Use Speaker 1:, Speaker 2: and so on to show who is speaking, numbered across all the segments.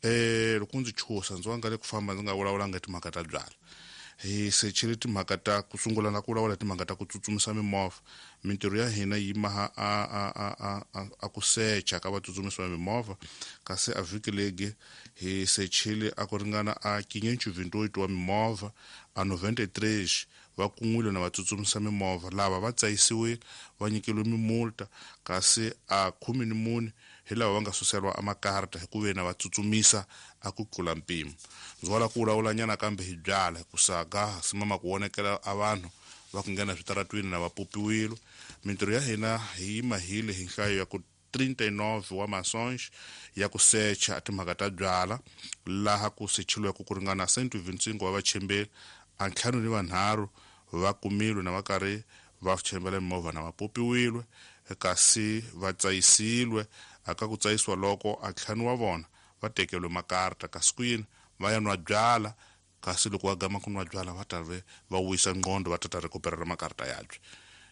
Speaker 1: Loko ndzi chusa ndzi wanga le ku famba ndzi nga vulavulanga timhaka ta byala. Hi sechile timhaka ta ku sungula na ku vulavula timhaka ta ku tsutsumisa mimovha. Mintirho ya hina yi maha a ku secha ka vatsutsumisi va mimovha, kasi a vhiki legi hi sechile a ku ringana a 528 wa mimovha, a 93 va kun'wile na vatsutsumisa mimovha. Lava va tsayisiwile va nyikeliwe mimulta, kasi a 14 hi lava va nga suseriwa a makarta hi ku ve na va tsutsumisa a ku tlula mpimo. Ndzi wala ku vulavulanyana kambe hi byala hi ku saga simama ku vonekela a vanhu va ku nghena switaratwini na va popiwile. Mintirho ya hina hi yi mahile hi nhlayo ya ku 39 wa masonge ya ku secha timhaka ta byala, laha ku sechiliweke ku ringana 125 wa vachembeli, a 53 va kumilwe na va karhi va chembela mimovha na va popiwile, kasi va tsayisile. Aka ku tsayisiwa loko a 5 wa vona va tekeriwe makarta, kasi ku yini va ya nwa byala, kasi loko va gama ku nwa byala va ta ve va wisa ngqondo va ta recuperera makarta yabye.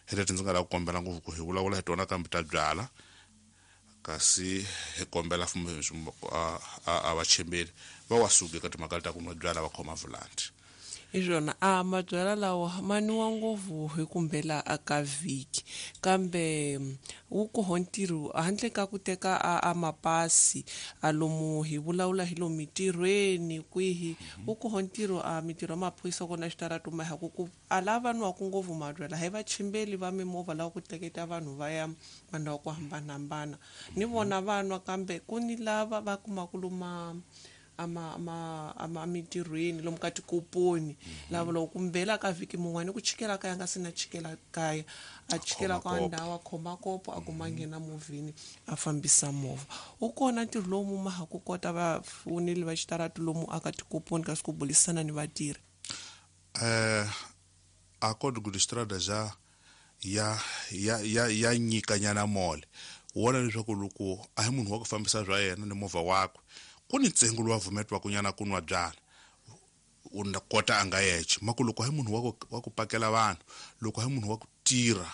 Speaker 1: Hi leti ndzi nga lava ku kombela ngopfu ku hi vulavula hi tona kambe ta byala, kasi hi kombela a vachembeli va wa suki eka timhaka ta ku nwa byala va khoma vulanti.
Speaker 2: Hi swona a mabyala lawa ma nwiwa ngopfu hi kumbela aka vhiki, kambe wu koho ntirho handle ka ku teka a mapasi a lomu hi vulavula hi lomu mitirhweni kwihi, wu koho ntirho a mitirho ya maphorisa kona xitarato ma ha ku a lava nwaku ngopfu mabyala hi vachimbeli va mimovha lava ku tleketa vanhu va ya mandhawu ku hambanahambana, ni vona va nwa, kambe ku ni lava va kumaka loma ama mitirhweni lomu ka tikoponi, lava loko kumbela ka vhiki mun'wani ku chikela kaya nga sina chikela kaya, a chikela ka ndhawu a khoma kopo a kuma nghena movheni a fambisa movha. Wu kona ntirho lowu mu ma ha ku kota vafoneli va xitaratu lomu aka tikoponi kasi ku bulisana ni vatirhi?
Speaker 1: A Código de Estrada ja ya nyikanyana mole wona leswaku loko a hi munhu wa ku fambisa bya yena ni movha wakwe, ku ni ntsengo lowu a vumetiwaka nyana ku nwa byala u na kota a nga yexe. Mako loko a hi munhu wa ku pakela vanhu, loko a hi munhu wa ku tirha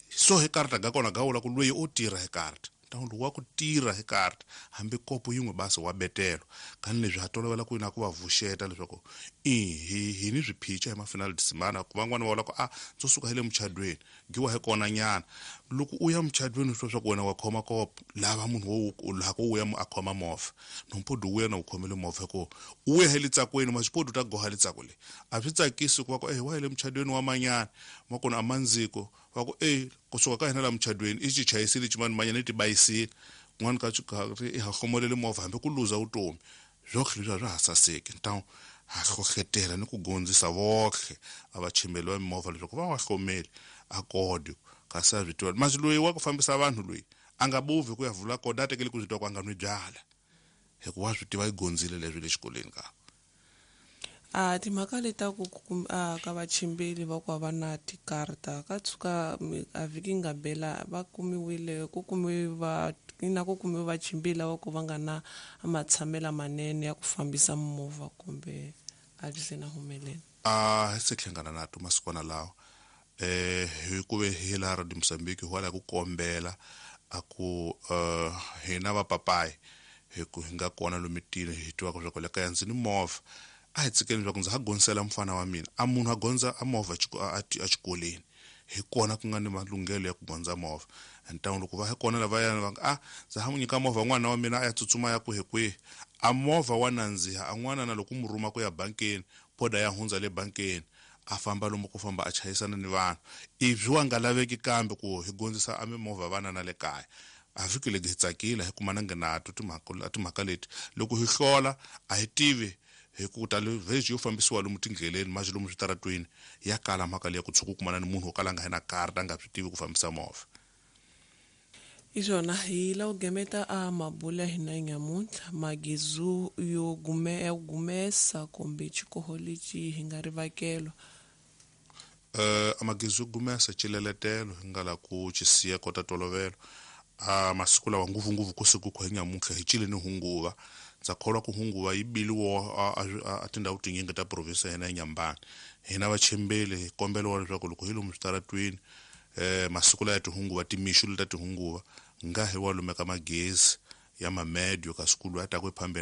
Speaker 1: so hi karta ga kona ga vula ku loyi o tirha hi karta, ntangu lowu wa ku tirha hi karta hambi kopo yin'we basi wa betelo. Kani leswi ha tolovela ku na ku va vuxeta leswaku hi ni swiphica hi mafinal de semana, ku van'wana va vula ku a ndzo suka hi le muchadweni giwa hi kona nyana. Loko u ya muchadweni swi swa ku wena wa khoma kopo, lava munhu wo u lava ku u ya a khoma movha, nompodi u ya na u khomele movha ku u ya hi le tsakweni, maswipodi u ta goha le tsako le. A swi tsakisi ku va ku wa hi le muchadweni wa manyana, ma kona a mandziko va ku kusuka ka hina la muchadweni i xi chayisile ximani manyana i tibayisile, kun'wana ka i ha hlomolele movha hambi ku luza vutomi. Swohle leswi a swa ha saseki. Ntawu ha hlohletela ni ku gondzisa vohle a vachembeli va mimovha leswaku va wa hlomeli a kodi, kasi a swi tiva. Masi loyi wa ku fambisa vanhu loyi a nga bovi ku ya vula kodi, a tekeli ku swi tiva ku a nga nwi byala, hikuva wa swi tiva i gondzile leswi le xikolweni ka.
Speaker 2: A timhaka leti ta ku ka vachimbeli va ku va na tikarta ka tshuka a vhiki nga bela va kumiwile ku kumiwe va na ku kumiwe vachimbeli lava ku va nga na matshamelo manene ya ku fambisa movha kumbe a byi se na humelela.
Speaker 1: A hi se hlangana na to masikwana lawa hi ku ve hi laha Radio Mozambique hi wala ku kombela a ku hina va papayi hi ku hi nga kona lomitini hi tivaka leswaku le kaya ndzi ni movha, a hi tshikeni leswaku ndza ha gondzisela mufana wa mina a munhu a gondza a movha a xikolweni, hi kona ku nga ni malunghelo ya ku gondza movha. Ntangu loko va hi kona lavaya va nga a ndza ha n'wi nyika movha n'wana wa mina a ya tsutsuma ya kwihi kwihi, a movha wa nandziha a n'wana na loko mu rhuma ku ya bankeni poda ya hundza le bankeni a famba lomu ku famba a chayisana ni vanhu, ivi wa nga laveki kambe ku hi gondzisa a mimovha vana na le kaya. A vhiki legi hi tsakile hi kuma na nghenato timhaka leti loko hi hlola a hi tivi hi ku ta le vhezi yo fambisiwa lomu tindleleni manje lomu switaratweni ya kala mhaka leyi ku tshuka u kumana ni munhu wo kala a nga hi na karta a nga swi tivi ku fambisa movha.
Speaker 2: Hi swona hi lava ku gemeta a mabula ya hina nyamuntlha magezu yo ya gumesa kumbe xikoho lexi hi nga rivakelwa.
Speaker 1: A magezu yo gumesa xileletelo hi nga la ku xi siya kota tolovelo. A masiku lawa ngopfungopfu ku siku ku hi nyamuntlha hi cile ni hunguva. Ndza kholwa ku hunguva yi biliwa a tindhawu tinyingi ta province ya hina ya Nyambani. Hina vachembeli hi kombeliwa leswaku loko hi lomu switaratweni masiku laya tihunguva timixu leta tihunguva nga hi wa lumeka magezi ya mamedio kasi ku loyi a taka ephambeni.